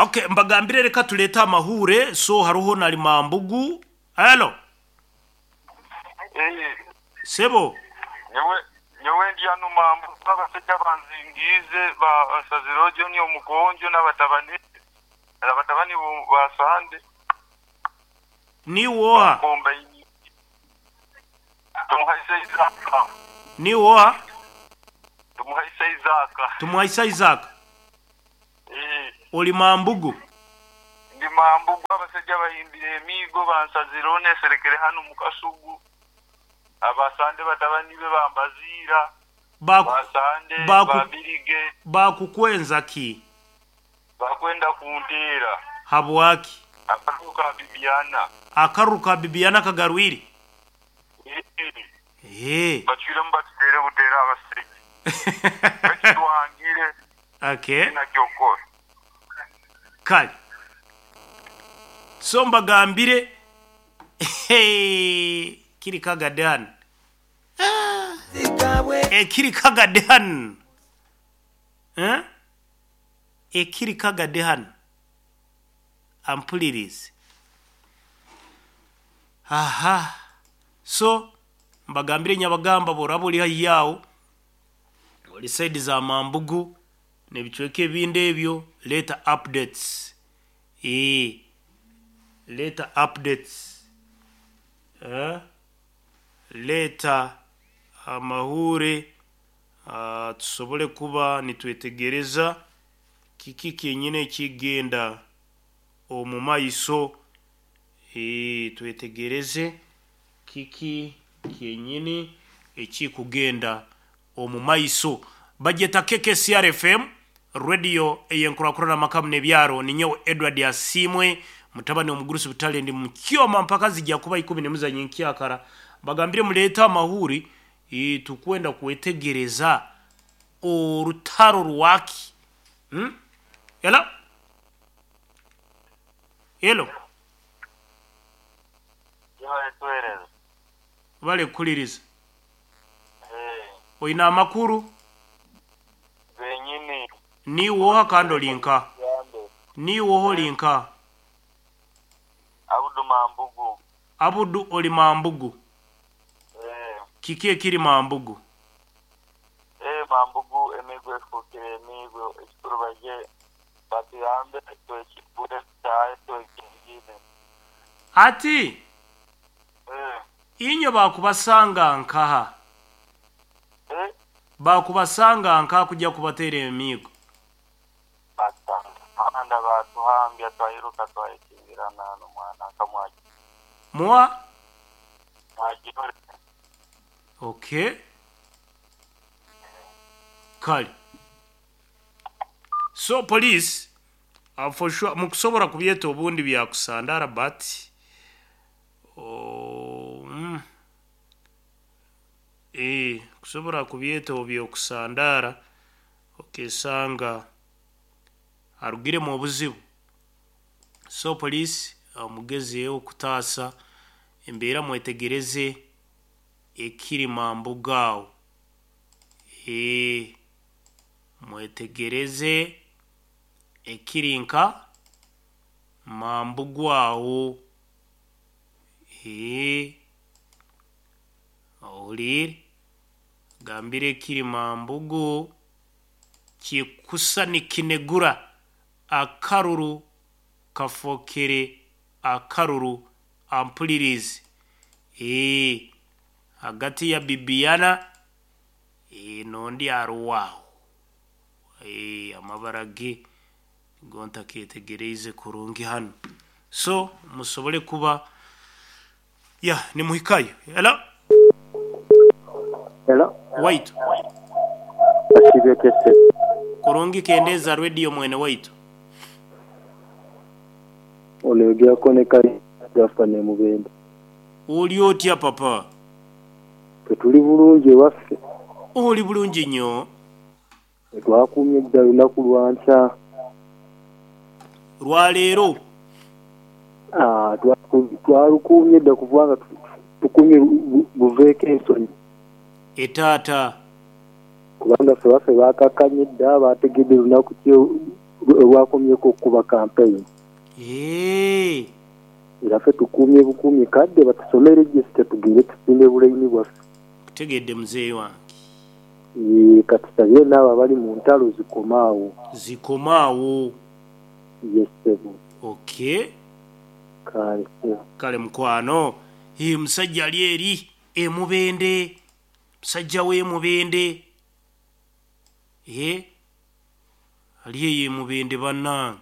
Okay, mbagambire reka tuleete amahuure so haruho na Limambugu. Hello. Eh, Sebo. nyowe nyowe ndi hanu Mambugu abasaija banzingiize bansazireho John Omugonjo n'abatabani abatabani ba Sande. Niiwe oha? Bankombaine. Tumuhaise Isaac. Niiwe oha? Tumuhaise Isaac. Tumuhaise Isaac. Eh. Oli Mambugu? Ndi Mambugu abasaija bahimbire emiigo bansazireho neserekere hanu mu kasugu. Abasande batabani be bambaziira. Baku, Basande baku, babirige bakukwenza ki? bakwenda kunteera. Habwaki? Akaruru ka Bibiana. Akaruru ka Bibiana kagarwire? Eh. Eh. Bacwiremu batuteere buteera abasaija. Bakitwangire. Okay. Nakyokora. Kale. So mbagambire hey, kiri kagadde hano. Ekiri kagadde hano. Eh? Ekiri kagadde hano. Ampulirize. Aha. So mbagambire nyabagamba boraba ori haihi aho ori side za Mambugu n'ebicweka ebindi ebyo leeta updates. Eeh leeta updates. Eh? Leeta amahuure ah, tusobole kuba nitwetegereza kiki kyenyine ekigenda omu maiso. Eeh twetegereze kiki kyenyini ekikugenda omu maiso. Bagyeta KKCR FM radio eyenkurakurana amaka n'ebyaro. Ninyowe Edward Asiimwe mutabani omugurusi butale ndi mukyoma mpaka zijja kuba ikumi nemuzanyo nkyakara. Bagambire muleete amahuri e, tukwenda kwetegereza orutaro rwaki. Hello? Hello? Tuhereza. Bale kukuliriza. Eh. Oine amakuru? Benyini. Niiwe oha kandi ori nka? Yambe. Niiwe oha ori nka? Abudu Mambugu. Abudu ori Mambugu. Eh. Kiki ekiri Mambugu? Eh, Mambugu emigo efukire emigo ekikuru baje batuyambe twekibure tutahe twekingire. Ati Eh. inyo bakubasanga nkaha? Eh. Bakubasanga nkaha kujya kubateera emiigo? Batanda batuhambya twayiruka twayekingirana n'omwana nkamwaki. Mwa? Mwagirore. Okay. Kale. So police for sure mukusobora kubyeta obundi byakusandara but oh, eh kusobora kubyeta obyokusandara okesanga arugiremu obuzibu. So police mugezeeho kutaasa embeera mwetegereze ekiri Mambugu aho. Eh mwetegereze ekiri nka Mambugu aho. Eh ohuliire gambire ekiri Mambugu kikusa nikinegura akaruru kafokere akaruru ampulirize. Eh hagati ya Bibiana eh n'ondi aruho aho. Eh amabara ge nigo ntaketegereize kurungi hanu. So musobole kuba ya nimuhikayo. Hello? Hello? Waitu. Basibye kese. Kurungi kendeeza radio mwene waitu. Oneogerako ne Kali Gafa ne Mubende. Oli otya papa? Ffe tuli bulungi ewaffe. Oli bulungi nnyo. Ffe twakuumye dda lunaku lwa nkya. Lwa leero. Ah, twalukuumye dda kubanga tukuumye buveeko ensonyi. Etaata. Kubanga ffe waffe baakakkanye dda bategedde lunaku ki Lwakomyeku okukuba kampeyini. Eeh. Era ffe tukuumye bukuumi kadde batusome register tugende tusimbe bulaini bwaffe. Nkutegeedde muzeeyi wange. Yee katusabire naabo abali mu ntalo zikome agho. Zikome agho. Ye ssebo. Okay. Kale ssebo. Kale mukwano. Hee musajja ali eri e Mubende. Musajja w'e Mubende. Eeh ali eyo e Mubende banange.